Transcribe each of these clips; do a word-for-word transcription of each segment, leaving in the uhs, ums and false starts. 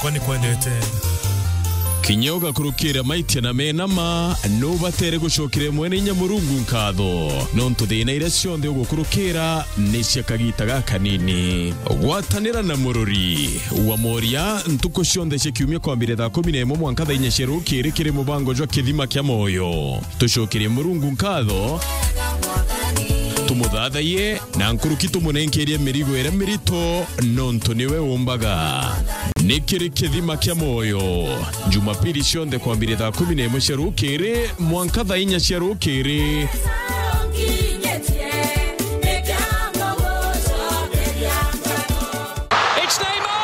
Kwani kwendete. Kinya ugakurukira maitia na mena ma, nubatere gucokera mwene inya Murungu nkatho, nontu thina iria cionthe ugukurukira ni cia kagita gakanini. Gwatanira na murori wa moria ntuku cionthe cia kiumia kwambire thaa kumi na imwe mwanka thaa inya cia rukiri kiri mubango jwa Kithima kia Moyo. Tucokerie Murungu nkatho, tumuthathaiye, na nkuruki tumunenkerie mirigo iria mirito, nontu niwe umbaga. Ni kiri Kithima kia Moyo, Jumapili cionthe kwambiria thaa kumi na imwe cia rukiri mwanka thaa inya cia rukiri. It's Neymar!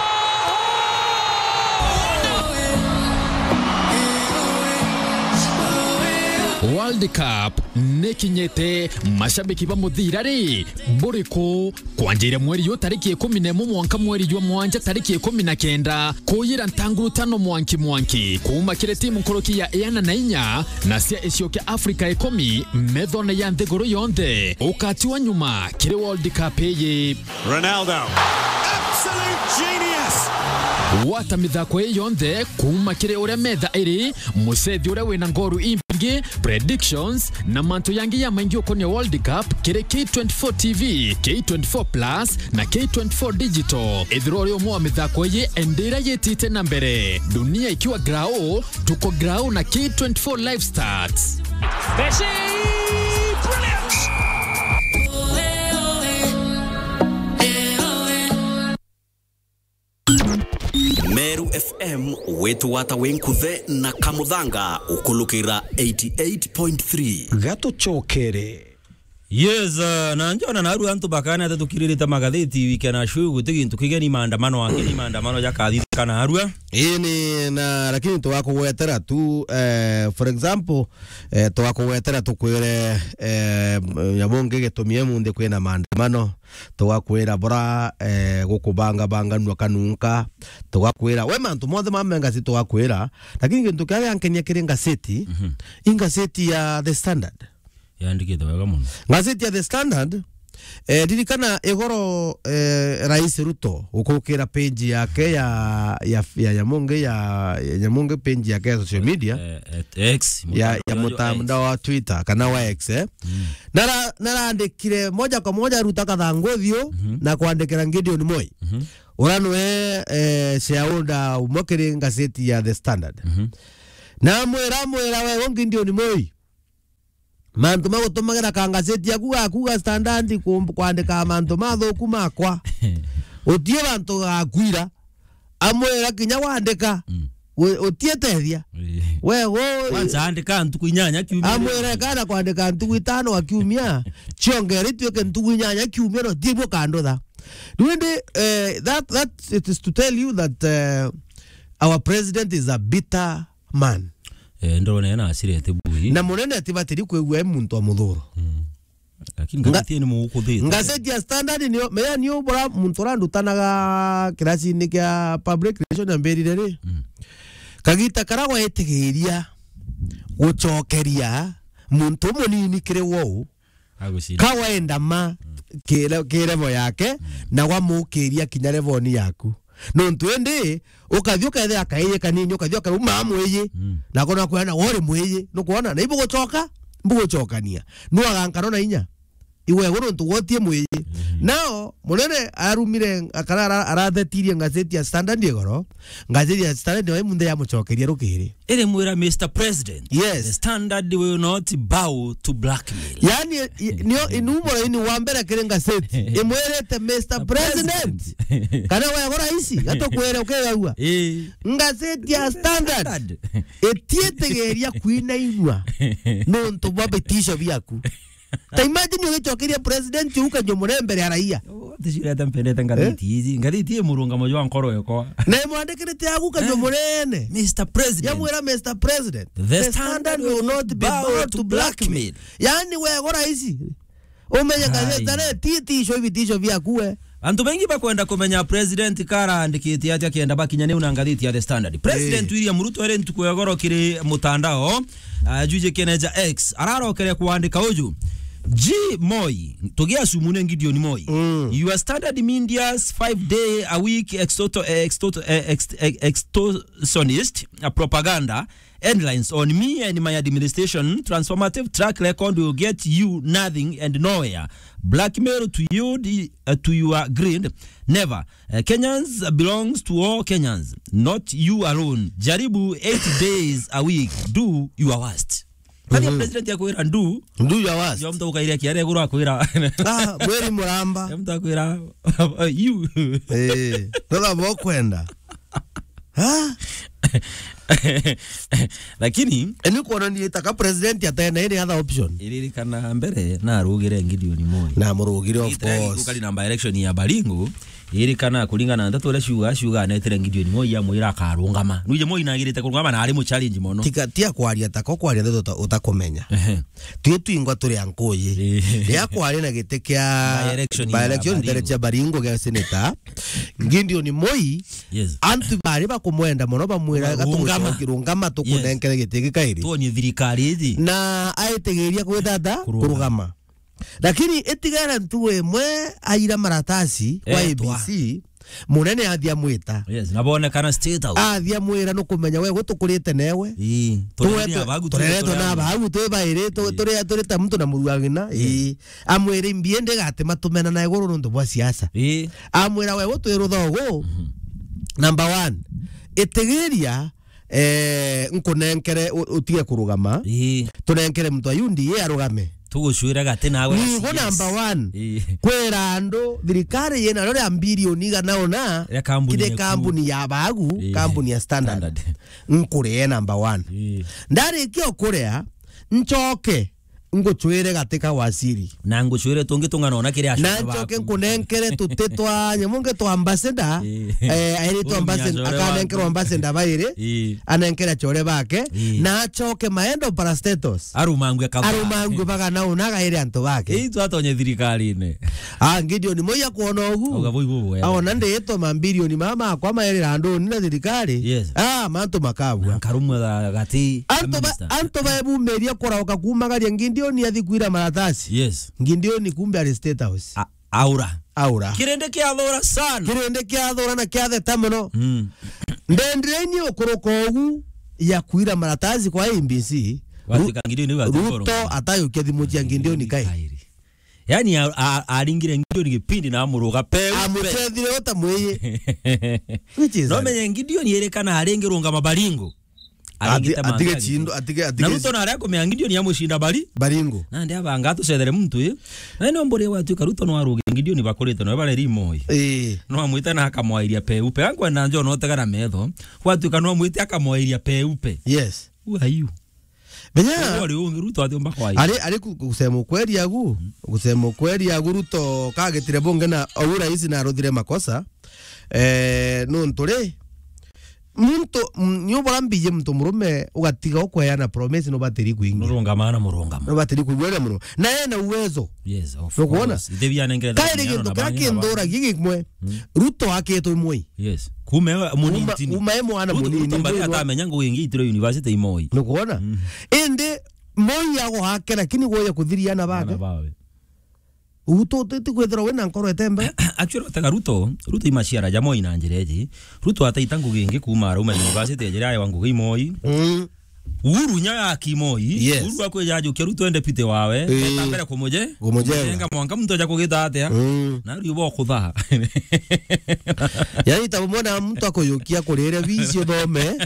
World Cup nikinyite, mashabiki ba muthira ri, buriku? Kwanjiria mweri yu tariki ikumi na imwe mwanka mweri jwa mwanja tariki ikumi na kenda, kuyira ntanguru tano mwanki mwanki, kuuma kiri timu nkuruki ya iana na inya na cia icio kia Afrika ikumi, methone ya nthiguru yonthe, ukatiwa nyuma kiri World Cup iyi. Ronaldo. Absolute genius. Gwata mithako ii yonthe kuuma kiri uria metha iri, mucethi uria wina ngoru imbingi, predictions, na mantu yangi ya maingi ukonia World Cup kiri K twenty-four T V, K twenty-four Plus, na K twenty-four Digital. Ithirwa uri umwe wa mithako ii, endera yitite na mbere. Dunia ikiwa grau, tuko grau na K twenty-four Live Stats. Messi! Brilliant! Meru F M, witugwata wi nkuthe na Kamuthanga, ukulukira eighty-eight point three. Gatucokere. Yes, uh, na njona narua antu bakana ate tukiririte magatheti wiki na shu guti gintu kigeni maandamano ake ni maandamano jakathithika narua. Ii ni na, lakini twakugwetera tu, eh, for example, eh, twakugwetera tukwire, eh, nyamu ngi gitumi munthi kwina maandamano. Tugakwira bura, eh, gukubangabanganua kanunka. Tugakwira, we mantu monthe ma mengasi tugakwira, lakini gintu kiria giankenia kiri ngaseti, mhm, i ngaseti ya The Standard. Yandikite wega muno. Ngaseti ya The Standard, eh, ririkana igoro, eh, Rais Ruto gukukira page yake ya, ya, ya, ya mungi ya, ya mungi page yake ya social media. Eh, eh, X, ya, mutandao ya wa mutandao X. Wa Twitter, kana wa X, eh. Mm. Nara-, narandikire moja kwa moja aruta kathangu uthiu, mhm, na kwandikira Gideon Moi. Mhm. Uria nwe, eh, shareholder umwe kiri ngaseti ya The Standard. Mhm. Na amwira, amwira, "We, u Gideon Moi, mantu ma gutumagira ka ngaseti yaku gaku ga Standard ku-, kwandika mantu mathuku makwa, utie bantu gakwira." Amwira kinya wandika, mm, u-, utietethia. Ii. We, u-, kwanza andika ntuku inyanya kiumia. Amwira kana kwandika ntuku itano a kiumia, ciongere ituike ntuku inyanya kiumia, no ti bukandutha. Riu indi, eh, that, that it is to tell you that, eh, our president is a bitter man. Eh, ndorone na asirete bui. Na munene atibatiri kwigua e muntu wa muthuro. Mm. Lakini nga-, ngathiti ni mugukuthite. Ngaseti ya Standard niyo, meya niyo bura muntu urandutanaga kirasini kia public relation ambirire ri. Mm. Kagita kara gwetigiria gucokeria muntu munini kiri wou. Agucira. Ka wenda ma, mm, kire, ki level yake, mm, na gwamukiria kinya level ni yaku. Nontu indi, ukathi ukethira kaiyi kanini, ukathi ukauma mwiji, mm, na kona kwena wori mwiji, nukwona, na ibugucoka, mbugucokania. Nwaga nkano na inya. Iwe, igu nontu gwotie mwiji. Mm. Nao, munene arumire, akara ara-, arathetirie ngaseti ya Standard igoro, ngaseti ya Standard nayo imunthe yamucokeria rukiri. Iri mwira, "Mister President, yes, the Standard will not bow to blackmail." Yani, i-, nio inumoro ini wa mbere kiri ngaseti. Imwirite, "Mister President, President, kana wego raisi, gatukwire ukigagua." Eh. Ngaseti ya Standard, Standard, itietigeria kwina inua nontu bwa bitisho biaku. Ta imagine ugicokeria president ukanyo mure mbere ya raia. Oh, tishirete mpendete ngathiti, eh, ici. Ngathiti i murungamo jwa nkoro yakwa. Na imwandikirite agu kanyo, eh, munene. Mister President. Yamwira, "Mister President, the Standard will not bow to blackmail." Yani wego raisi. Umenye ngathiti ti, ti icio ibitisho biaku we. Antu baingi bakwenda kumenya president karaandikitie atia kenda bakinya niu na ngathiti ya The Standard. President, eh, William Ruto ere ntuku ya goro kiri mutandao, ah, ajujikene ja X. Ararokere kwandika uju. G Moi, tugia sumu ne Gideon Moi. Mm. Your standard media's five day a week extorto-, eh, extorto-, eh, ext-, eh, extortionist, a propaganda, headlines on me and my administration, transformative track record will get you nothing and nowhere. Blackmail to you, the, uh, to your greed, never. Uh, Kenyans belongs to all Kenyans, not you alone. Jaribu eight days a week, do your worst. Kani president akwira ndu? Do your worst. Yo mtu ukairia kiare guru akwira. Ah, mweri muramba. Yo mtu akwira, you. Eh, ndola bokwenda. Ha? Lakini eni kuona ni itaka president atena any other option. Iririkana mbere na arugire Gideon Moi. Na murugire, of course. Kali namba election ya Baringo. Iri kana kuringana na ndeto iria ciuga, ciuga anetire Gideon Moi amwira akarungama. Nuije Moi nagirite kurungama na ari mu challenge mono. Tika, tia kwaria tako, kwaria ndeto uta-, utakumenya. Ehe. Twi twingwa turi ankuyi. Eh. Riria kwari na giti kia by election by ya election Baringo. Tere cia Baringo gia senator, Gideon Moi, yes, antu bari bakumwenda mono bamwira, rungama. Gatugucoki, rungama, yes, tukunenkere giti gikairi. Tuonie thirikari iji. Na aitigiria kwithata kurungama. Kurungama. Lakini itigara ntugu imwe aira maratasi kwa, etwa, A B C, munene athia mwita. Yes, na bonekana State House. Athia mwira nukumenya we gutukurite newe. Ii, tureretwe, tureretwe na abagu, tureretwe na abagu, twi bairi, tu-, ii, turi, turi ta muntu na muruagina. Ii. Ii. Amwira imbi indi gati matumena na iguru nuntu bwa siasa. Ii. Amwira we gutwirutha ugu. Mhm. Number one, itigiria eh, nkunenkere u-, utige kurugama. Ii. Tunenkere muntu wa U D A arugame. Tugucwire gati nawe. Nigo number one. Ii. Kwira andu thirikari yina rio ria bilioni igana una, ria kambuni kiri ya kambuni ya bagu, ii, kambuni ya Standard. Standard. Nkurie number one. Ii. Ndarikia kuria, nchoke ngucwire gati ka waziri. Na ngucwire tungi tung'ana ona kiria na acoka ncoke baku. Nkunenkere tuti twa nyamu ngi twa ambassador. Ii. Eh, airi twa ambassador, akanenkerwa ambassador bairi. Ii. Anenkere acore bake. Ii. Na acoke maendo parastatos. Arumangwe kaba. Arumangwe bagana una gaire antu bake. Ii, twatonye thirikarine. Ah, Gideon Moi akwona ugu. Auga bui bubu wega. Aona ndiitwa mabilioni mama akwa mairira anduni na thirikari. Yes. Ah, mantu makabua. Na nkarumwa ga-, gati. Antu ba-, minister. Antu baebumiria kurauka kumagaria Gideon athi kwira maratasi. Yes. Gideon kumbe ari State House. A-, aura. Aura. Kirindi kiathura sana. Kirindi kiathura na kiatheta muno. Mm. Ndendire-ini ukuruka ugu ya kwira maratasi kwa A B C. Gwatuika Ru-, Gideon niwe atuika Ruto uruka. Atayukia thimu cia Gideon kairi. Kairi. Yani, a-, a-, aringire Gideon gipindi na amuruga peupe. Amucethire uta mwiyi. Which is no menye Gideon yere kana aringi rungama Baringo. Aringite ati-, mantu atige ya chindo, Gideon. Atige, atige. Na Ruto na aria kumenya Gideon amucinda Bari-, Baringo. Nandi abanga atucethere muntu ii. Na no mburi gwatuika Ruto no aruge Gideon bakurite no bareri Moi. Ii. No amwite na akamwairia peupe. Ankwenda njo no tegana metho. Gwatuika no amwite akamwairia peupe. Yes. Who are you? Benya. Uri ungi Ruto atiumba kwa ari, ari ku-, kusema ukweli agu, mm, kusema ukweli agu Ruto kagitire bunge na au rais na aruthire makosa. Eh, nuntu ri, muntu, mm, ni ubora mbiji muntu murume ugatiga ukweana promise nubatiri kuingi. Nurungama na murungamo. Nubatiri kuigua na murungamo. Na ena uwezo. Yes, of course. Nukwona? Ithe bia nengere. Kairi gintu kiria kinduragia gikimwe. Mm. Ruto akitwe Moi. Yes. Kuma e munini. Kuma, kuma e mwana munini. Ruto mbere atamenya ngugi ingi itiro university i Moi. Nukwona? Mm. Indi Moi ago ake, lakini gwoya kuthiria ana bake. Ana bawe. Utu utiti kwithirwa wina nkoro etembe. Actually, watega Ruto, Ruto imaciara ja Moi na njira iji. Ruto ataita ngugi ingi kuma arauma university ya njira ya ngugi i Moi. Mm. Uhuru nya ya ki Moi. Yes. Uhuru akwija ajukia Ruto ende pite wawe. Ii. Eta mbere kumuje. Kumuje. Kumujenga mwanka muntu aja kugita atia. Mm. Na riu bo kuthaa. Yani, ta mwana muntu akuyukia kurire bici uthome.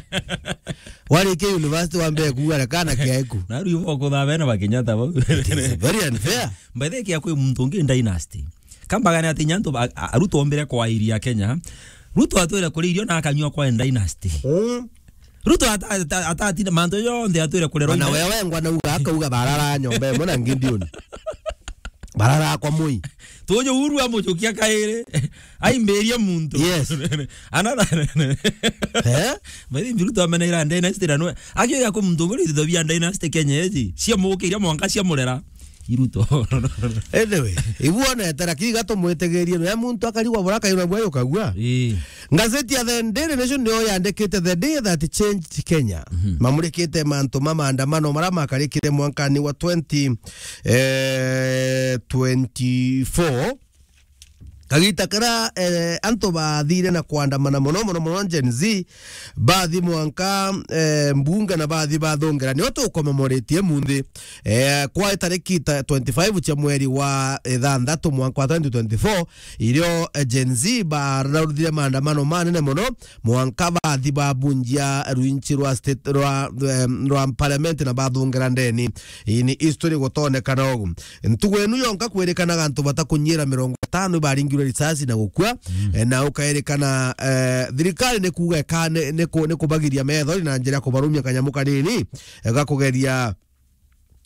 Warikia university wambe kuuga kana kiaeku. Na riu bo kuthaa bena bakinya ta bau. It is very unfair. By the way, kia kwi muntu ungi dynasty. Kambagane ati nyantu ba-, a-, Ruto ombire kwairia Kenya. Ruto atwire kuria irio na akanyua kwa dynasty. Mm. Ruto ata-, ata-, atatina mantu yonthe atwire kurerwa. Ona ime. Wewe ngwa nauga akauga barara nyomba imwe na Gideon. Barara kwa Moi. Tuju Uhuru amujukia kairi. Aimbirie muntu. Yes. Another. Eh? By the way, Ruto ameneira dynasty na nwe. Akiuga ku muntu nguri thobia dynasty Kenya iji. Cia mukiria mwanka cia murera. Iruto. Anyway, ibu onete, lakini gatumwitigirie, no ya muntu akarigwa bura kairwa bwa yukagua. Ii. Ngazeti ya The Daily Nation niyo yandikite, "The day that changed Kenya." Mhm. Mamurikite mantu ma maandamano mara makarikire mwankani wa twenty, eh, twenty-four. Kagita kara, eh, antu bathire na kwandamana mono, mono, mono, Gen Z, bathi mwanka, eh, mbunge na bathi bathungera. Nio tukomemoretie munthi, eh, kwa tariki ta twenty-five cia mweri wa ithanthatu mwanka wa twenty twenty-four, irio, eh, Gen Z bararuthire maandamano manene mono, mwanka bathi babunjia rwinchi rwa state, rwa, em, rwa parliament na bathungera ndeni. Ii ni history gutonekana ugu. Ntugu inu yonka kwirikanaga antu batakunyira mirongo itano ibaringirwe risasi na gukua. Mm. Eh, na ukairikana, eh, thirikari ni kuuga eka-, ni, ni ku-, ni kubagiria methori na njira ya kubarumia kanyamu kanini, eh, ga kugeria,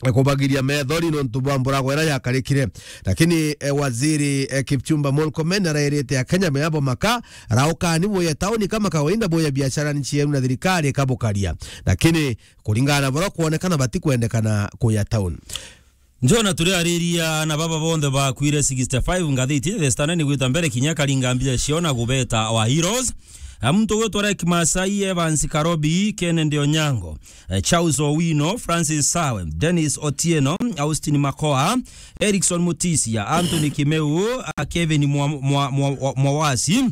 eh, kubagiria methori nontu bwa mburagwa ira yakarikire. Lakini, eh, waziri, eh, Kipchumba Murkomen arairite Akenya meabo maka, raukani boya tauni kama kawaida, boya biashara nchi yenu na thirikari ikabukaria. Lakini kuringana na bura kwonekana batikwendekana kuya tauni. Njona turiariria na baba bonthe bakwire sixty-five, ngathiti The Standard nigwita mbere kinya karinga mbia ciona gubeta our heroes. A muntu gwitwa Rek Masai, Evans Karobi, Kennedy Onyango, eh, Charles Owino, Francis Sawe, Dennis Otieno, Austin Makoa, Erickson Mutisia, Anthony Kimeu, a Kevin Mwa-, Mwa-, Mwa-, Mwa-, Mwawasi,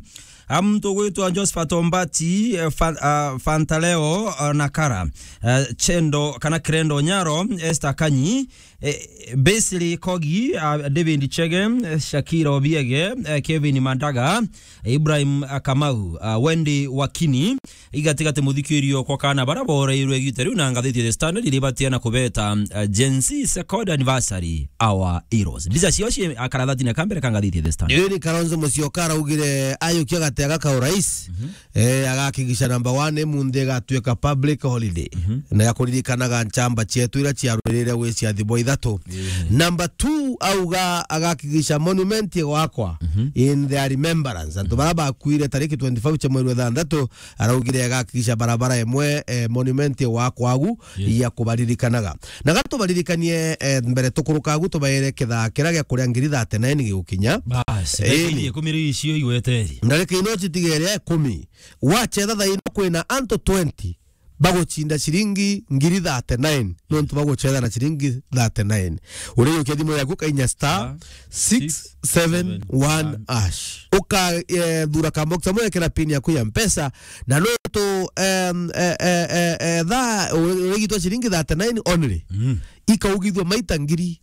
a muntu gwitwa Josephat Ombati, eh, Fa-, ah, Fantaleo, ah, Nakara, eh, Chendo kana Krendo Nyaro, Esther Kanyi, eh, Basili Kogi, ah, David Chege, eh, Shakira Obiege, eh, Kevin Mandaga, Ibrahim, ah, Kamau, ah, Wendy Wakini, igatigati muthikirio kwa kana bara boreirwe igita riu na ngathiti The Standard iribatia na kubeta, ah, Gen Z second anniversary our heroes. Mbica cio ci akarathati na kambere ka ngathiti The Standard. Iri Kalonzo Musyoka araugire ayukia gati aga ka urais, mhm, eh, agakigisha number one munthi igatuika public holiday, mhm, na ya kuririkanaga nchamba cietu ira ciarwirire gwi ciathi bwa ithatu. Mhm. Number two auga agakigisha monument igwakwa, mhm, in their remembrance. Antu, mhm, bara bakuire tariki twenty-five cia mweri wa ithanthatu, araugire agakigisha barabara imwe, eh, monument igwakwa agu, yes, ya kubaririkanaga. Na gatubaririkanie, eh, mbere tukuruka agu tubaire kithaa kiria gia kuria ngiri thirty-nine gigukinya. Bas, eh, ndagika ikumi riu icio igweteri. Ndagika ino citigere ikumi. Wachetha thaa ino kwina antu twenty baguchinda ciringi ngiri thirty-nine, nontu baguchetha na ciringi thirty-nine. Uriukia thimu yaku kainya star six seven one hash. Uka, eh, thura ka box amwe, ekira pin yaku ya Mpesa, na nontu, em, eh, eh, eh, eh, thaa uri-, urigitwa ciringi thirty-nine only. Mm. Ikaugithua maita ngiri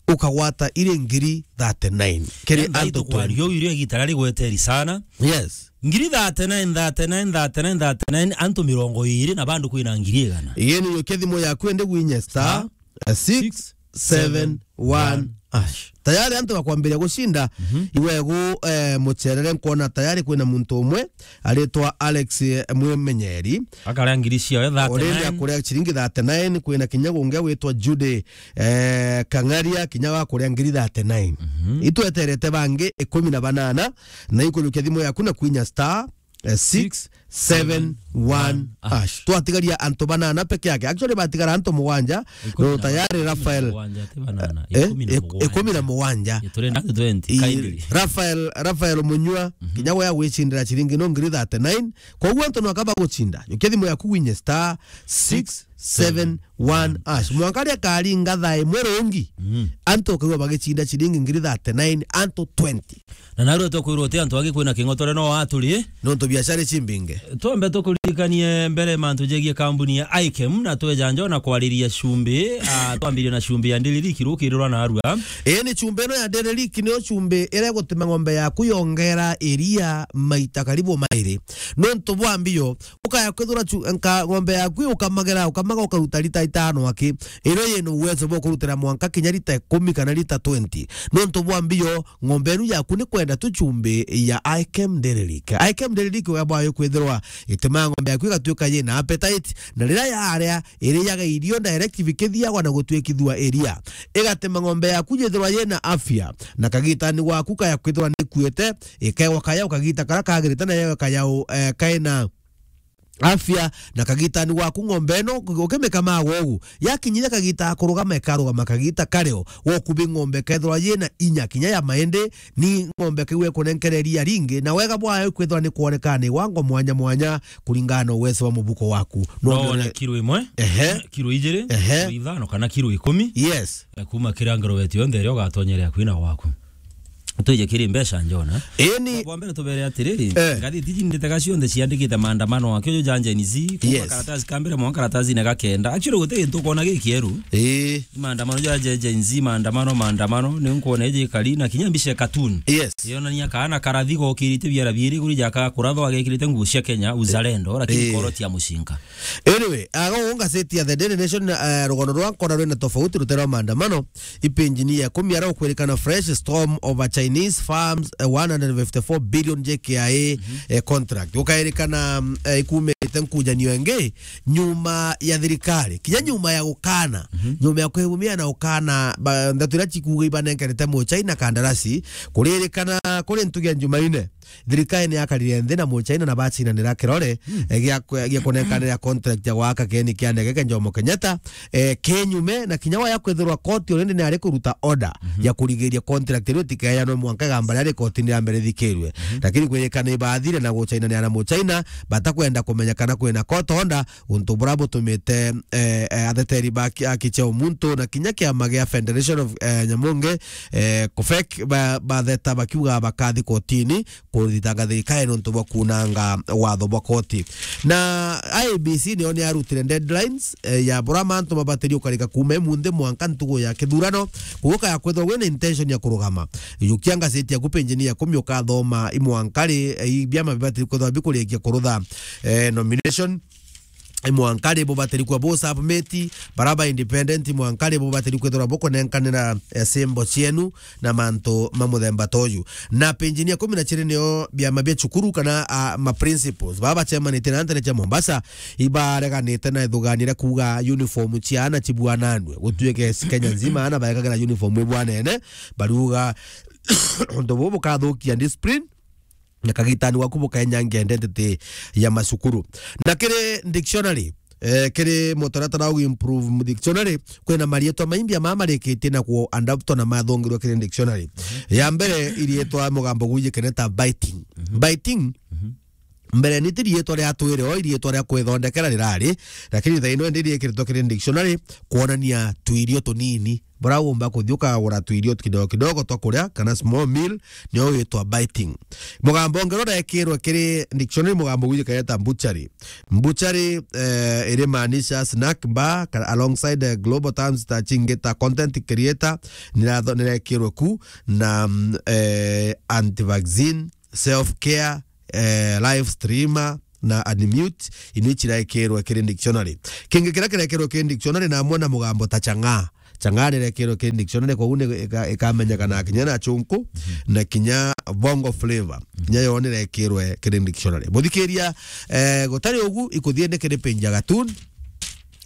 ukagwata iri ngiri thirty-nine. Kiri antu twenty. Kwario irio igita rari gweteri sana. Yes. Ngiri thirty-nine, thirty-nine, thirty-nine, thirty-nine, antu mirongo iri na bandu kwina ngiri igana. Yeni yokia thimu yaku ende gwinya star, star, eh, six seven one hash. Tayari antu bakwambiria gucinda, mhm, iwegu, eh, mucherere nkwona tayari kwina muntu umwe aritwa Alex, eh, Mwimenyeri. Akaria ngiri ciawe thirty-nine. Already akuria ciringi thirty-nine, kwina kinya gungi gwitwa Judy, eh, Kang'aria, kinya wa kuria ngiri thirty-nine. Mhm. Itweterete bangi ikumi na banana, na ikujukia thimu yaku na kwinya star, eh, six seven one hash. Twatigaria antu banana peke yake. Actually, batigara antu mugwanja. Ikumi na, no, tayari Rafael, ikumi na mugwanja, ti banana. Eh, ikumi na mugwanja. Ikumi na mugwanja. Turenda twenty, i-, kindly. Rafael, Rafael Munyua, mhm, kinya we agwicindira ciringi no ngiri thirty-nine. Koguo antu no akaba gucinda. Jukia thimu yaku winye star six seven one hash. Mwanka ria karinga thaa imwe rungi. Mm. Antu ukaigua bagicinda ciringi ngiri thirty-nine, antu twenty. Na narua tukwirwo uti antu angi kwina king'otore no aturi. Nontu biashara ici mbinge. Twambe tukuririkanie mbere mantu jegie kambuni ya Ikem na tweja njo na kwariria cumbi. Ah, twambirie na cumbi ya Daily Lake rukirirwa narua. Ii ni cumbi ino ya Daily Lake, niyo cumbi iria igutuma ng'ombe yaku yongera iria maita karibu mairi. Nontu bwa mbio, ukaya kwithura chu-, nka-, ng'ombe yaku ukamagira, ukamaga ukaruta lita itano aki. Ino yina uwezo bwa kurutira mwanka kinya lita ikumi kana lita twenty. Nontu bwa mbio, ng'ombe inu yaku ni kwenda tu cumbi ya Ikem Daily Lake. Ikem Daily Lake uga bwayo kwithirwa ituma ng'ombe yaku igatuika yina appetite, na riria yaria, iriaga irio direct bikithiagwa na gutuikithua iria. Igatuma ng'ombe yaku yithirwa yina afya, na kagitani gwaku kaya kwithirwa ni ikuite, ikegwa kayau kagita kara kagirite, na yewe kayau, eh, kaina afya na kagitani waku ng'ombe ino, ukimikamaga ugu. Yakinyire kagita ga kurugama, ikarugama kagita kario. Wokubi ng'ombe kethirwa yina inya kinya ya maindi, ni ng'ombe kiu ikunenkera iria ringi, na wega bwayo ikwithirwa ni kwonekana ni wango mwanya mwanya, kuringana na uwezo wa mubuko waku. No wone kiro imwe, ehe, kiro ijiri, ehe, kiro ithano kana kiro ikumi. Yes. Na kuma kiri angerobeti yonthe iria ugatonyera kwina waku. Twije kiri mbeca, Njona. Ii ni bwa mbere tubere atiriri, eh, ngathiti iji nditega cionthe ciandikite maandamano akio jo ja Gen Z, kuma, yes, karatasi ka mbere mwanka karatasi na gakenda. Actually, guti gintu ukona gikieru. Ii. Maandamano ja, ja Gen Z, maandamano, maandamano, ni nkuona iji kari na kinya mbica ya cartoon. Yes. Yonania kaana karathi gokirite biara biiri kuri jaka kurathwa gekirite nguo cia Kenya, uzalendo, lakini, eh, koro cia mucinga. Anyway, ago ngazeti ya The Daily Nation, eh, rugono rwa nkona rwina tofauti rutera maandamano, ipinjini ya kumi ara ukwirikana fresh storm over Chinese firms, eh, one hundred fifty-four billion J K I A, mhm, eh, contract. Ukairikana, mm, eh, ikumite nkujanio ingi nyuma ya thirikari. Kinya nyuma ya gukana, mhm, nyuma ya kwihumia na gukana, ba, nthatu iria cikuuga ibanenkerete mu China kandarasi, kuririkana kuri ntugi ya Jumaine. Thirikari ni yakarire nthi na Muchina na bacinanira kirore, mm, eh, gia kwe-, gia kunekanira contract ya gwaka kieni kia ndege kia Jomo Kenyatta, eh, kinyume, na kinya waya kwithirwa koti already ni ari kuruta order, mhm, ya kurigiria contract iu itikeyanwe mwanka igamba riria rikotini ria mbere rithikirwe. Mhm. Lakini kwirikana ibathire na guchainanira na Muchina, batakwenda kumenya kana kwina court order, untu buria butumite, eh, eh, atheteri ba ki-, aki cia umuntu na kinya kiama gia Federation of, eh, Nyamunge, eh, kufek ba-, batheta bakiuga bakathi kotini kuthitanga thirikari nontu bwa kunanga watho bwa koti. Na I E B C niyo ni arutire deadlines, eh, ya buria mantu mabatiri ukarika kuma imunthi mwanka ntugu ya kithurano, kuguka ya kwithwa wina intention ya kurugama. Yukia ngazeti yaku penjini ya kumi ukathoma imwanka ri, eh, i biama bibatiri kwithwa bikurikia kurutha, eh, nomination. Mwanka ri bubatiri kwa bu submit, bara ba independent mwanka ri bubatiri kwithirwa bukunenkanira, eh, symbol cienu na mantu ma muthemba ta uyu. Na penjini ya kumi na ciri niyo biama bia cukuru kana, ah, ma principals baba bacemanitie na ntere cia Mombasa ibareganite na ithugania ria kuuga uniform cia ana cibuananwe gutuike Kenya nzima ana baekagira uniform ibwanene, bariuga untu bubu bukathukia discipline na kagitani waku bukenyangia identity ya macukuru. Na kiri dictionary, eh, kiri mutaratara wa improve dictionary, kwina marietwa maimbi ama marikitie na ku adaptwa na mathongirwe kiri dictionary. Mhm. Ya mbere, irietwa mugambo gwijikene ta biting. Mhm. Biting, mhm, mbere ni ti rietwa ria twire o, irietwa ria kwithondekera rirari, lakini thaino ndi riekiritwe kiri dictionary kuonania tuirio tunini. Bora umba kuthi ukagura tuirio kidogo kidogo twa kuria, kana small meal, nio witwa biting. Mugambo ungiro urekirwe kiri dictionary, mugambo gwijikene ta butchery. Butchery, eh, irimaanisha snack bar, ka-, alongside the global terms ta chingi ta content creator, niratho-, nirekirwe ku, na, mm, eh, anti-vaccine, self-care, eh, live streamer, na unmute, inu ici irekirwe kiri dictionary. Kingi kiria kirekirwe kiri dictionary na amwe na mugambo ta chang'aa. Chang'aa nirekirwe kiri dictionary, koguo ni ika-, ikamenyekana kinya na chunku, mhm, na kinya bongo flavor. Mhm. Kinya yo nirekirwe kiri dictionary. Muthikiria, eh, gutari ugu, ikuthie ni kiri page ya cartoon.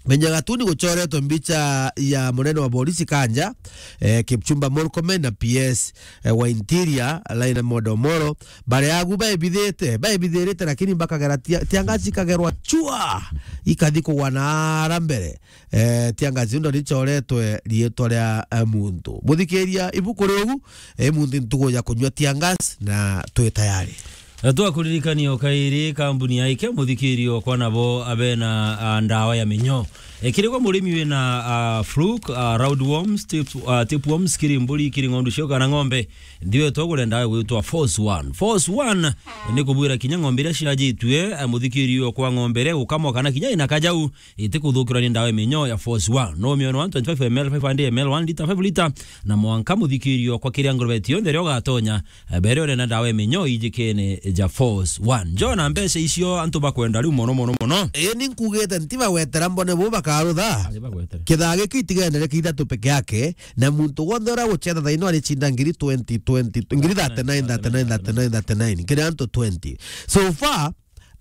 Page ya cartoon guchoretwe mbicha ya munene wa borisi Kanja, eh, Kipchumba Murkomen na P S, eh, wa Interior, Raila Amolo Odinga, baria agu baibithite, baibithirite, lakini bakagera tia-, tiangasi ikagerwa chua, ikathi kugwa na ara mbere. Eh, tiangasi ndo richoretwe rietwa ria, eh, muntu. Muthikiria, ibuku riu, eh, muntu ntugu ya kunywa tiangasi na twi tayari. Na twakuririkania o kairi, kambuni ya Ikea muthikirio kwa nabo abena, ah, ndawa ya minyo. Ekirigwa murimi wina, ah, fluke, ah, roundworms, tip-, ah, tapeworms, kiri mburi, kiri ng'ondu cio kana ng'ombe, ndiwe togure ndawa igwitwa Force One. Force One ni kubwira kinya ng'ombe iria ciajitue, ah, muthikirio kwa ng'ombe iria gukamwa kana kinya ina kajau, itikuthukirwa ni ndawa ya minyo ya Force One. No miona one twenty-five M L, five hundred M L, one litre, five litre, na mwanka muthikirio kwa kiria ngurube cionthe rio gatonya, eh, bere urenda ndawa ya minyo ijikene ja Force One. Njona mbeca icio antu bakwenda riu mono, mono, mono. Ii, ni nkugite nti bagwetera mbone bu bakarutha. Ari bagwetera. Kithaa giki itigendere kithatu peke yake, na muntu wonthe uria guchetha thaino arichinda ngiri twenty, twenty, ngiri thirty-nine, thirty-nine, thirty-nine, thirty-nine, kiri antu twenty. So far,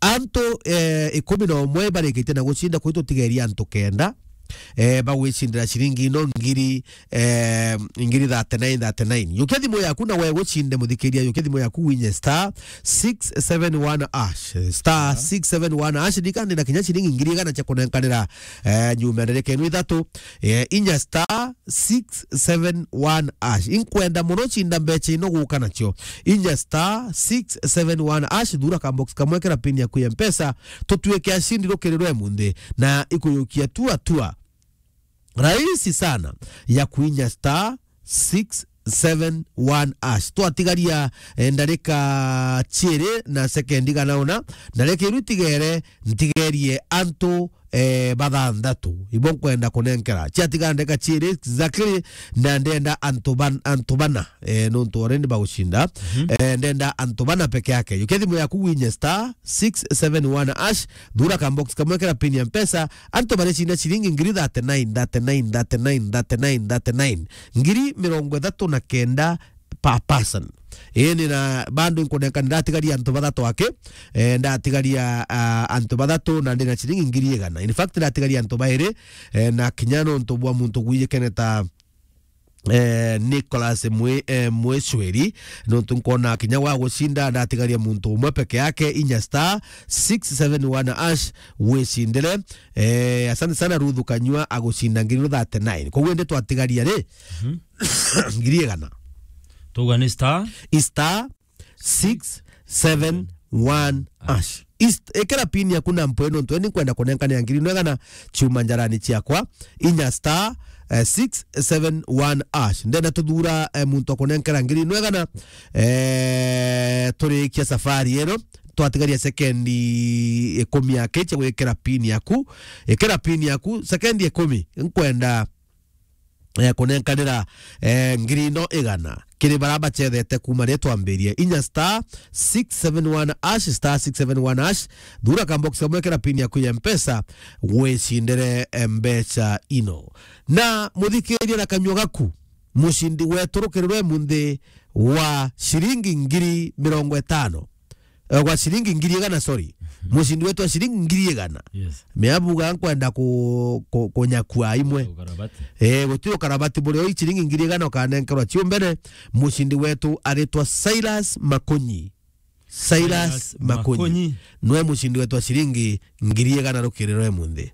antu, eh, ikumi na umwe barikitie na gucinda kwi tutigeria antu kenda. eh, bagwicindira ciringi ino ngiri, eh, ngiri thirty-nine, thirty-nine. Yukia thimu yaku na we gucinde, muthikiria, yukia thimu yaku winye star six seven one hash. Star six seven one hash, ndikandi na kinya ciringi ngiri igana cia kunenkanira, eh, nyuma ya ndereka ino ithatu, eh, inya star six seven one hash. Inkwenda mono cinda mbecha ino guka nacio. Inya star six seven one hash, thura ka box kamwe, kira pin yaku ya Mpesa, tutuike acindi rukiri rwe munthi, na ikuyukia tua tua. Rahisi sana ya kuinya star six seven one hash. Twatigaria, eh, ndarika ciiri na sekendi igana una, ndarika iru itigere, ntigerie antu, eh, bathanthatu. Ibo nkwenda kunenkera. Ciatigara ndarika ciiri exactly, na ndenda antu ban-, antu bana, eh, nontu already bagucinda. Mhm. Eh, ndenda antu bana peke yake. Yukia thimu yaku winye star six seven one hash, thura ka box kamwe, kira pin ya Mpesa, antu baricinda ciringi ngiri thirty-nine, thirty-nine, thirty-nine, thirty-nine, thirty-nine. Ngiri mirongo ithatu na kenda per person. Ii, ni na bado nkunenka, ndiratigaria antu bathatu aki. Eh, ndatigaria, ah, antu bathatu na ndina ciringi ngiri igana. In fact, ndatigaria antu bairi, eh, na kinya nontu bwa muntu gwijikene ta, eh, Nicholas Mwe-, eh, Mwecweri, nontu nkona kinya wa gucinda, ndatigaria muntu umwe peke yake, inya star six seven one hash, wicindire. Eh, asante sana Ruth Kanyua agucinda ngiri thirty-nine. Koguo indi twatigaria ri? Mhm. Ngiri igana. Tuga ni star? I star six seven one hash. Ist-, ikira pin yaku na mpoe nontu eni nkwenda kunenkanira ngiri no igana ciuma njarani ciakwa. Inya star, eh, six seven one hash. Ndenda tuthura, eh, muntu akunenkera ngiri no igana, eh, turikia safari ino. Twatigaria sekendi ikumi aki cia gwikira pin yaku. Ikira pin yaku, sekendi ikumi. Nkwenda eh, kunenkanira, eh, ngiri ino igana kiri bara bacethete kuma riria twambirie. Inya star six seven one hash, star six seven one hash, thura ka box kamwe, kira pin yaku ya Mpesa, wicindire, eh, mbeca ino. Na muthikiria na kanyua gaku, mucindi wetu rukiri rwe munthi wa ciringi ngiri mirongo itano. Eh, gwa ciringi ngiri igana, sorry. Mhm. Mucindi wetu wa ciringi ngiri igana. Yes. Meabuga nkwenda ku-, ku-, kunyakua imwe. Ukarabati. Eh, gutiri ukarabati burio, i ciringi ngiri igana ukanenkerwa ciumbene. Mucindi wetu aritwa Silas Makunyi. Silas Silas Makunyi. Makunyi. Nwe mucindi wetu wa ciringi ngiri igana rukiri rwe munthi.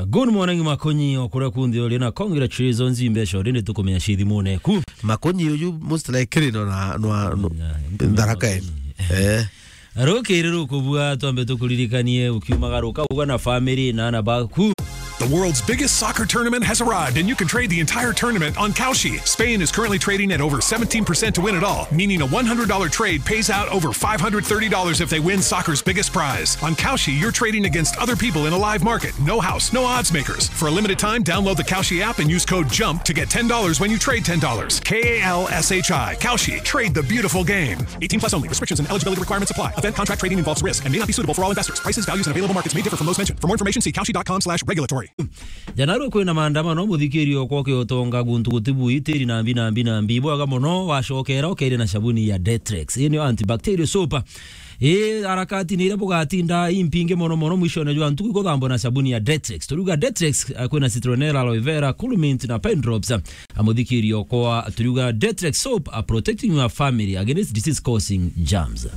Good morning, Makonyi, o kuria kunthe uri, na congratulations, mbeca already tukumenya ci thimune ku. Makonyi uyu most likely no na, no, no, Tharaka Makonyi. Eh. Rukiri rukubua, twambe tukuririkanie ukiumagaruka uga na family na ana baku. The world's biggest soccer tournament has arrived, and you can trade the entire tournament on Kalshi. Spain is currently trading at over seventeen percent to win it all, meaning a one hundred dollar trade pays out over five hundred thirty dollars if they win soccer's biggest prize. On Kalshi, you're trading against other people in a live market. No house, no odds makers. For a limited time, download the Kalshi app and use code jump to get ten dollars when you trade ten dollars. K A L S H I. Kalshi. Trade the beautiful game. Eighteen plus only. Restrictions and eligibility requirements apply. Event contract trading involves risk and may not be suitable for all investors. Prices, values, and available markets may differ from those mentioned. For more information, see kalshi dot com slash regulatory. Jana rwo kwina maandamano, muthikiri okwa ukiutonga guntu gutibu itiri na mbi na mbi na mbi. Bwaga mono, wacokera ukeire na sabuni ya Detrex. Ii niyo antibacterial soap. Ii, harakati ni iria bugatinda impingi mono mono, mwishone jwa ntuku ikuthambwa na sabuni ya Detrex. Turiuga Detrex, eh, kwina citronella, aloe vera, cool mint na pine drops. A muthikiri okwa, turiuga Detrex soap, a protecting your family against disease causing germs.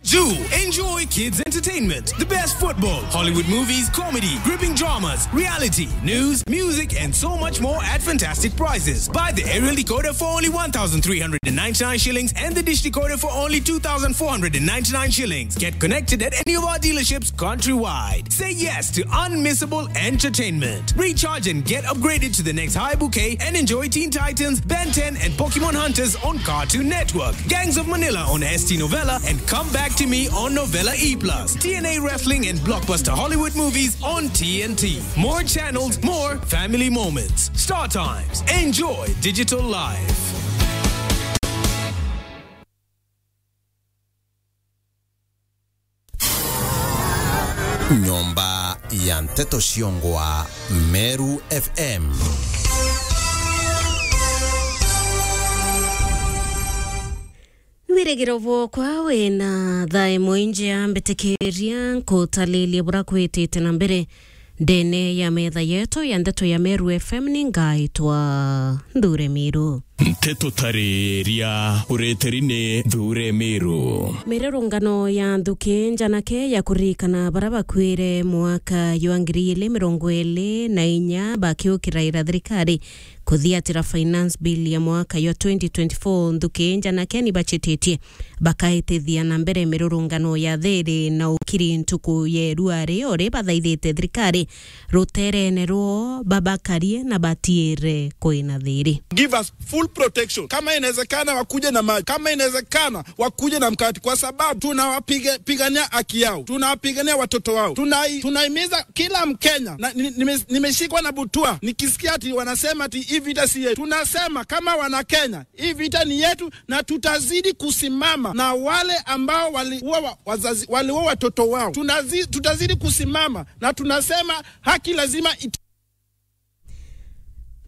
Juu, enjoy kids entertainment, the best football, Hollywood movies, comedy, gripping dramas, reality, news, music, and so much more at fantastic prices. Buy the aerial decoder for only one thousand three hundred and ninety-nine shillings and the dish decoder for only two thousand four hundred and ninety-nine shillings. Get connected at any of our dealerships countrywide. Say yes to unmissable entertainment. Recharge and get upgraded to the next high bouquet and enjoy Teen Titans, Ben ten, and Pokemon Hunters on Cartoon Network, Gangs of Manila on S T Novella, and Come Back to Me on Novella E plus, T N A Wrestling and blockbuster Hollywood movies on T N T. More channels, more family moments. Star Times. Enjoy digital life. Nyomba ya nteto ciongwa Meru F M. Rigiro bwokwa wina thaa imwe injia, mbitikiria nkutalilie bura kwitite na mbere ndene ya metha yetu ya ndeto ya Meru F M. Ni ngaitwa Nthure Miru. Nteto tariria ureteri ni Nthure Miru. Mirurungano ya nthuki njanake ya kuririkana bara bakwire mwaka jwa ngiri ili mirongo ili na inya bakiukiraira thirikari kuthiatira finance bill ya mwaka jwa twenty twenty-four, nthuki njanake ni bachititie bakaitithia na mbere mirurungano ya thiri na ukiri ntuku ya iruari, uri bathaithite thirikari ruterene rwo babakarie na batiire kwina thiri. Give us full protection. Kama inawezekana, wakuje na maji. Kama inawezekana, wakuje na mkate, kwa sababu tunawapiga-, pigania haki yao. Tunawapigania watoto wao. Tunai-, tunahimiza kila Mkenya. Na, ni-, nime-, nimeshikwa na butua nikisikia ati wanasema ati hii vita si yetu. Tunasema kama wana Kenya, hii vita ni yetu, na tutazidi kusimama na wale ambao waliua wa-, wazazi, waliua watoto wao. Tunazi-, tutazidi kusimama, na tunasema haki lazima it-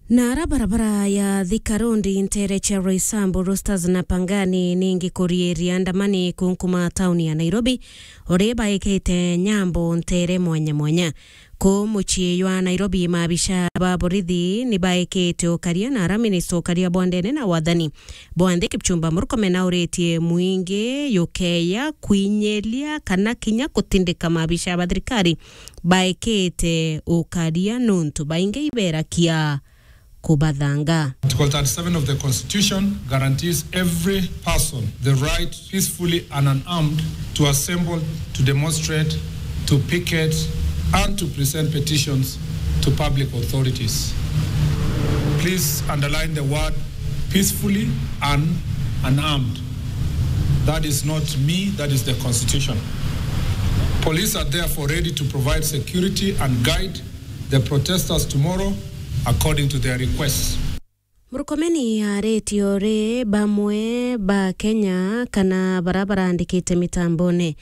Na ara barabara ya Thika Road, ntere cia Roysambu, Roosters na Pangani, ningi kurieria andamani kunkuma tauni ya Nairobi, uri baikite nyambo ntere mwanya mwanya. Ku mucii jwa Nairobi, maabisha ba borithi ni baikite ukaria na ara minista ukaria bwa ndene na wathani bwa nthi Kipchumba Murkomen auritie mwingi jukeya kwinyiria kana kinya kutindika maabisha ba thirikari baikite ukaria, nuntu baingi iberakia kubathanga. Article thirty-seven of the Constitution guarantees every person the right peacefully and unarmed to assemble, to demonstrate, to picket, and to present petitions to public authorities. Please underline the word peacefully and unarmed. That is not me, that is the Constitution. Police are therefore ready to provide security and guide the protesters tomorrow according to their requests. Murkomen aritie uri bamwe ba Kenya kana bara barandikite mitambone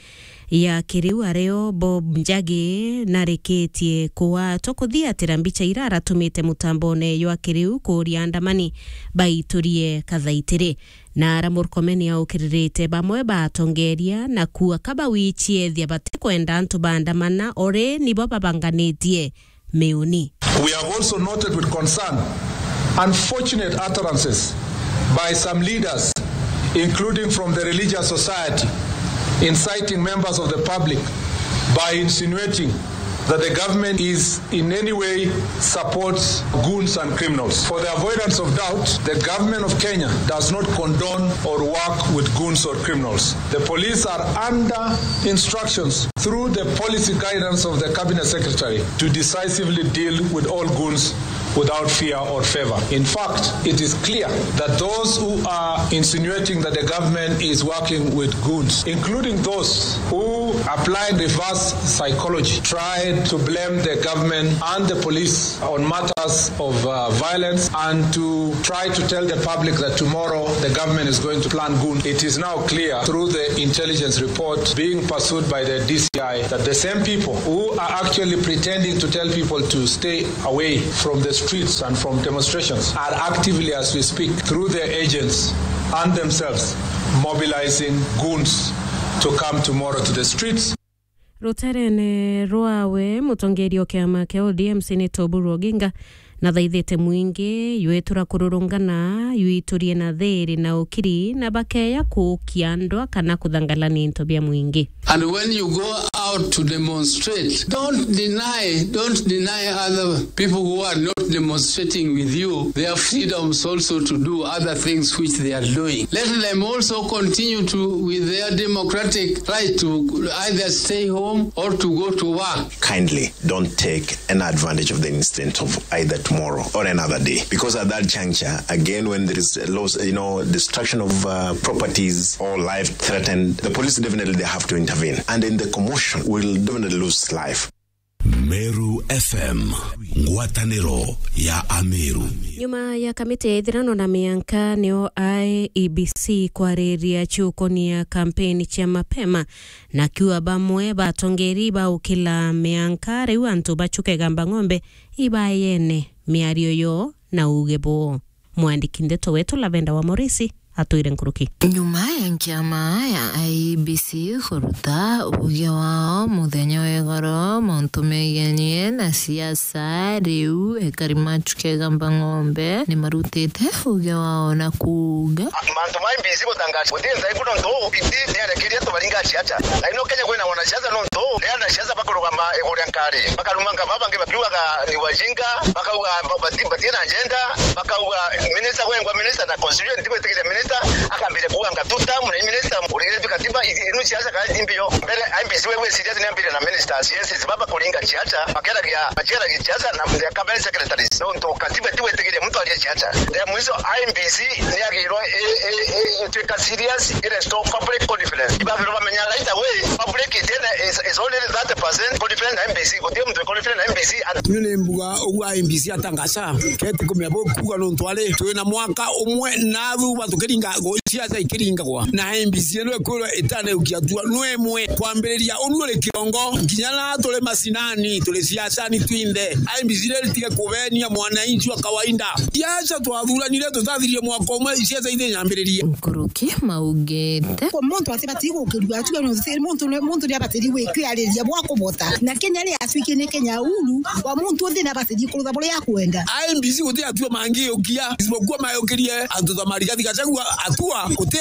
ya kiriu, ario Bob Njagi narikitie kuatwa kuthiatira mbicha ira aratumite mutambone jwa kiriu kuuria andamani baiturie kathaitiri. Na ara Murkomen aukiririte bamwe ba atongeria na kuuga ka bawichiethia batikwenda antu baandamana, ori nibo babanganitie miuni. We have also noted with concern unfortunate utterances by some leaders, including from the religious society, inciting members of the public by insinuating that the government is in any way supports goons and criminals. For the avoidance of doubt, the government of Kenya does not condone or work with goons or criminals. The police are under instructions through the policy guidance of the cabinet secretary to decisively deal with all goons without fear or favor. In fact, it is clear that those who are insinuating that the government is working with goons, including those who apply reverse psychology, try to blame the government and the police on matters of, uh, violence and to try to tell the public that tomorrow the government is going to plan goons. It is now clear through the intelligence report being pursued by the D C I that the same people who are actually pretending to tell people to stay away from the streets and from demonstrations are actively, as we speak, through their agents and themselves, mobilizing goons to come tomorrow to the streets. Ruterene rwawe, mutongeria o kiama kia O D M Senator Oburu Oginga nathaithite mwingi jwetura kururungana, jwiturie na thiri na ukiri, na bakeya kuukia ndwa kana kuthangalania into bia mwingi. And when you go out to demonstrate, don't deny, don't deny other people who are not demonstrating with you their freedoms also to do other things which they are doing. Let them also continue to, with their democratic right to either stay home or to go to work. Kindly don't take an advantage of the incident of either tomorrow or another day, because at that juncture, again, when there is a loss, you know, destruction of, uh, properties or life threatened, the police definitely they have to intervene, and in the commotion, will definitely lose life. Meru F M, ngwataniro ya Ameru. Nyuma ya kamiti ya ithirano na mianka, nio I E B C kwariria ciukonia kampeni cia mapema, na kiuga bamwe ba atongeri ba ukila mianka, riu antu bachuke gamba ng'ombe ibayene miario yo na uge bo. Mwandiki ndeto wetu Lavenda wa Morisi atwire nkuruki. Nyuma ya nkiama ya I E B C kuruta uge wao muthenya wa igoro mauntu megenie na siasa, riu ekari ma Chuka Igamba Ng'ombe ni marutite uge wao na kuuga, mantu ma M B C gutangaza guti nthaiku nontu biti niarekeria tubaringa ciaca. Na ino Kenya kwina wanasiasa nontu ni anasiasa bakurugama iguru ria nkari, bakaruma nkama, bangi bakiugaga ni wajinga, bakauga ba-, bati-, batina agenda, bakauga minister gwengwa minister na constitution ntigwitikiria minister, akambire kuuga ngatuta muna minister urigire tu katiba i-, inu ciaca kana ti mbio. Mbere M B C we gwiciria ni ambire na ministers, yes, baba kuringa ciaca, bakeragia, bakeragia ciaca na their cabinet secretaries. Nontu katiba ntigwitikiria muntu aria ciaca. Ya mwiso, I E B C ni agirwe i-, i-, i-, itwika serious, ire restore public confidence. Ibabirwe bamenya right away, public itene is, is only thirty percent confident na M B C. Guti muntu confident na M B C. Ni mbuga ugu I E B C atangaza, keti kumenya bo kuuga nontu ari twina mwaka umwe na thuba tukiringa go-, ciaca ikiringagwa. Na I E B C ino ikwirwa itaneukia hatua no imwe kwambiriria unu uri kirongo, nginya na turi macinani, turi ciacani twinthe. I E B C iri tige kubenia mwananchi wa kawaida. Ciaca twathuranire tutathirie mwaka umwe, ciaca ithinyambiririe. Nkuruki maugite. Kwa muntu atibati gukirua hatua, no, muntu, muntu ni abati gwi-, kwiariria bwa kubota. Na Kenya ri atuikie ni Kenya huru, kwa muntu uthi ni abati kurutha buria akwenda. I E B C guti atua mangi ukia, isipokuwa mayukirie antu ta Marigathi Gachagua atua, guti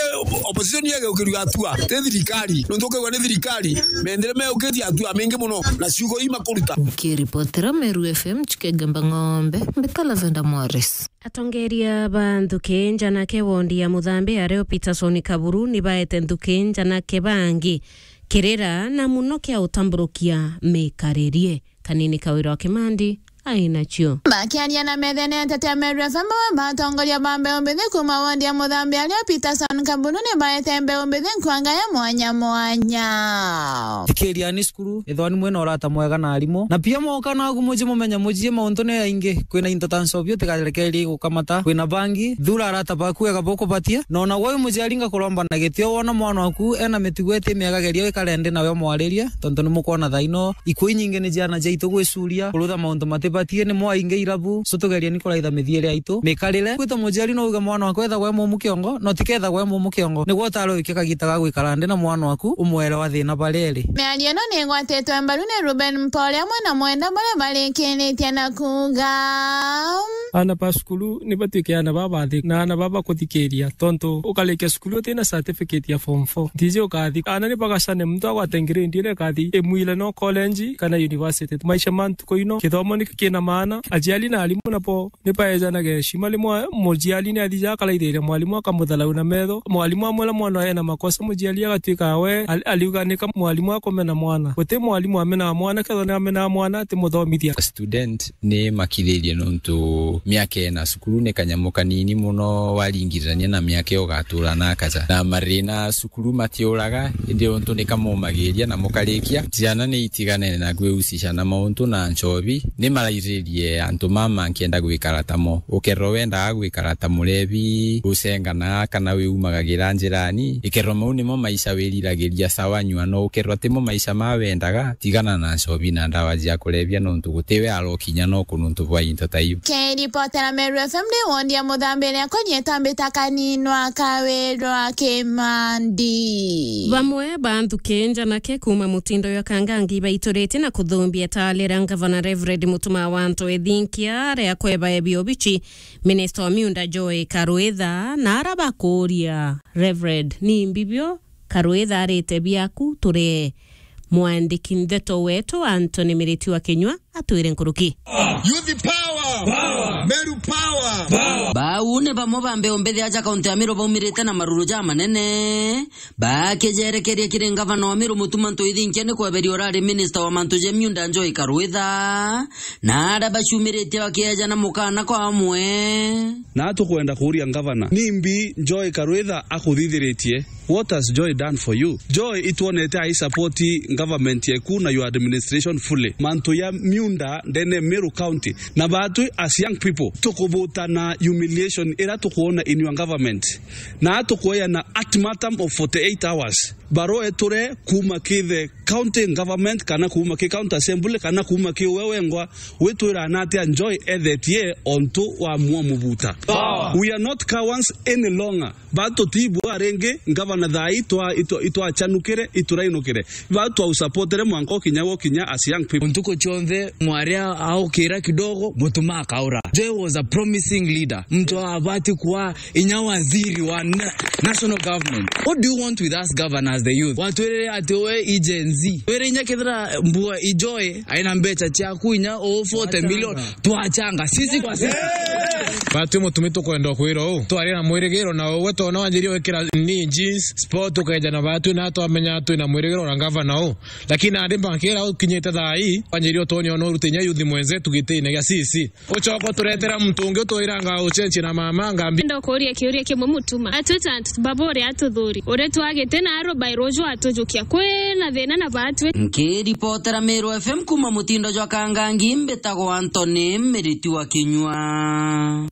opposition yegeukiria atua, ti thirikari. Nontu ukigwa ni thirikari, mendere meyukitie atua mengi muno, na ciugo ii makuruta. Nkiripotera Meru F M, Chuka Igamba Ng'ombe, mbita Lavender Morris. Atongeria ba nthuki njanake wondi ya Muthambi ario Peterson Kaburu ni baete nthuki njanake bangi kirira na muno kia utamburukia mikaririe. Kanini Kawira wa Kimandi ainacio. Bakiaria na methene ya Ntetea Meru F M, bamwe ba atongoria ba mbeu mbithi kuuma wondi ya Muthambi ario Peterson Kaburu ni baete mbeu mbithi nkwanga ya mwanya mwanya. Thikiriani cukuru, ithwani mwina urata mwega na arimu. Na pia mwoka naku muji mumenye muji mauntu ni aingi. Kwina into ta ncobi utigarekerie gukamata. Kwina bangi, thura arata baku wega bukubatia. Na ona gwe wi muciari ngakuromba na gitio wona mwana waku ena mitugo iti miega geria wikare nthi nawe umwaririe, tontu ni mukwona thaino ikuu inyingi ni ciana ciaitu gwicuria, kurutha mauntu matibatie, ni mwaingi irabu, so tugerieni kuraitha mithiere yaitu mikarire. Gwita muciari no uge mwana waku ethagwa e mumu kiongo, no tikethagwa e mumu kiongo. Nigwe utare uikia kagita ga gwikara nthi na mwana waku, umwere wa thina baria iri. Miario ino ni igwatitwe mbaru ni Ruben Mpore amwe na mwenda baria barikiritie na kuuga, aana ba cukuru ni batuike aana babathi na aana baba kuthikiria, tontu ukarikia cukuru utina certificate ya form four, ntiji ukathi. Aana ni bagacane, muntu agwate grade iria ikathi imwire no college kana university. Maisha ma ntuku ino, kithomo nikio kina maana. Aciari na arimu nabo ni baejanage heshima. Rimwe muciari ni athija akaraithiria mwarimu akamutharau na metho. Mwarimu amwira mwana ena makosa, muciari agatuika we ari-, ariuga nika mwarimu akumena mwana. Guti mwarimu amenaga mwana, kethwa ni amenaga mwana atimuthomithia. Student ni makiririe nontu miaka ena cukuru ni kanyamu kanini muno waringithania na miaka iyo ugatura na akaja. Na marina cukuru matiuraga, indi untu ni kamumagiria na mukarikia. Ciana ni itiganene na kwiucisha na mauntu na nchobi, ni marairirie antu mama nkienda gwikara tamo. Ukerwa wendaga gwikara ta murebi, ucenganaga kana wiumagagira njirani, ikerwa mau nimo maisha wiriragiria sawa nyua, no ukerwa timo maisha ma wendaga, tigana na nchobi na ndawa cia kurebia, nontu gutiwe arokinya no kununtu bwa into ta iu. Kiripotera Meru F M ni wondi ya Muthambi iria kwenye tambita kaninwa Kawirwa Kimandi. Bamwe ba nthuki njanake kuuma mutindo jwa Kangangi baituritie na kuthumbia taali ria Ngavana Reverend Mutuma wa Anto Ethinkia ria kwebaebia obichi minista wa miunda Joy Karwitha, na ara bakuuria, Reverend, ni mbibio Karwitha arite biaku? Turee mwandiki ndeto wetu Anthony Miriti wa Kinyua atwire nkuruki. Youth power! Power! Meru power! Power! Bau ni bamwe ba mbeu mbithi aja kaunti ya Meru baumirite na maruru ja manene, bakijerekeria kiri ngavana wa Meru Mutuma Ntoithinkia ni kweberia urari minista wa mantu ja miunda Joy Karwitha, na aria baciumiritie bakiejana mukana kwa amwe. Na tukwenda kuuria ngavana, nimbi Joy Karwitha akuthithiritie? What has Joy done for you? Joy itwonete ai support government yeku na your administration fully. Mantu ya miunda ndene Meru County. Na batwi as young people, tukubuta na humiliation ira tukwona in your government. Na tukweyana ultimatum of forty-eight hours. Barua eture kuma kithe County government kana kuuma ki county assembly kana kuuma ki uwe wengwa, witwira na atia Joy ethetie ontu wa muo mubuta. We are not cowards any longer. Ba tutibua ringi, ngavana thaa ii itwa-, itwa-, itwachanukire, iturainukire. Ba twausupportere mwanka ukinya gukinya as young people. Ntuku cionthe mwaria aukira kidogo, mutuma akaura. Joy was a promising leader. Mtu abati kuwa inya waziri wa na-, national government. What do you want with us governors, the youth? Watwirire ati we i Gen Z. Wire inya kethira mbua i Joy aina mbecha ciaku inya o forty million. Twachanga. Twachanga. Sisi kwa sisi. Batu mutumi tukwenda kwira u. Twari na mwirigiro na uwe tona wanjirie wikira ni jeans, sport ukeja na batu na twamenya twina mwirigiro na gavana u. Lakini andi mbakira ukinyite thaa ii, wanjirie utonya no rutinya youth mwenzetu gitine gia sisi. Ucoka uturetera muntu ungi utwiranga uchenchi na mama ngambi. Ndo kuria kiuria kimwe mutuma. Atwita antu baba uria atuthuri. Uria twagite na aro by rojo atujukia. Kwina thina na batwi. Nkiripotera Meru F M kuma mutindo jwa Kangangi, mbitagwa Anthony Miriti wa Kinyua.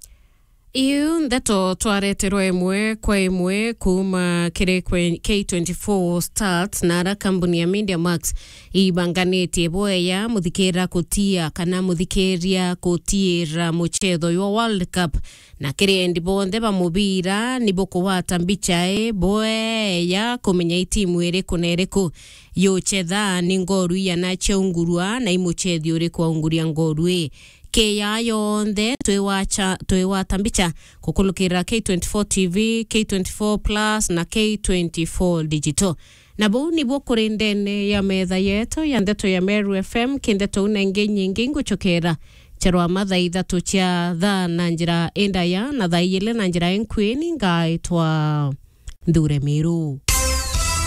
Iu ndeto twareterwa imwe kwa imwe kuuma kiri kwe-, K twenty-four Start na ara kambuni ya Media Max ibanganitie bweya muthikira kutia kana muthikiria kutiira muchetho jwa World Cup, na kiri endi bonthe ba mubira ni bukugwata mbicha i bweya kumenya i timu iriku na iriku yuchetha ni ngoru iana ciaungurua na i muchethi uriku aunguria ngoru i. Kiya yonthe twiwacha-, twigwata mbicha kukulukira K twenty-four T V, K twenty-four Plus na K twenty-four Digital. Na buu nibuo kuri ndene ya metha yetu ya ndeto ya Meru F M, ki ndeto una ingi nyingi nguchokera charwa mathaa ithatu cia thaa na njira indaya na thaa ijiri na njira inkwini ngaitwa Nthure Miru.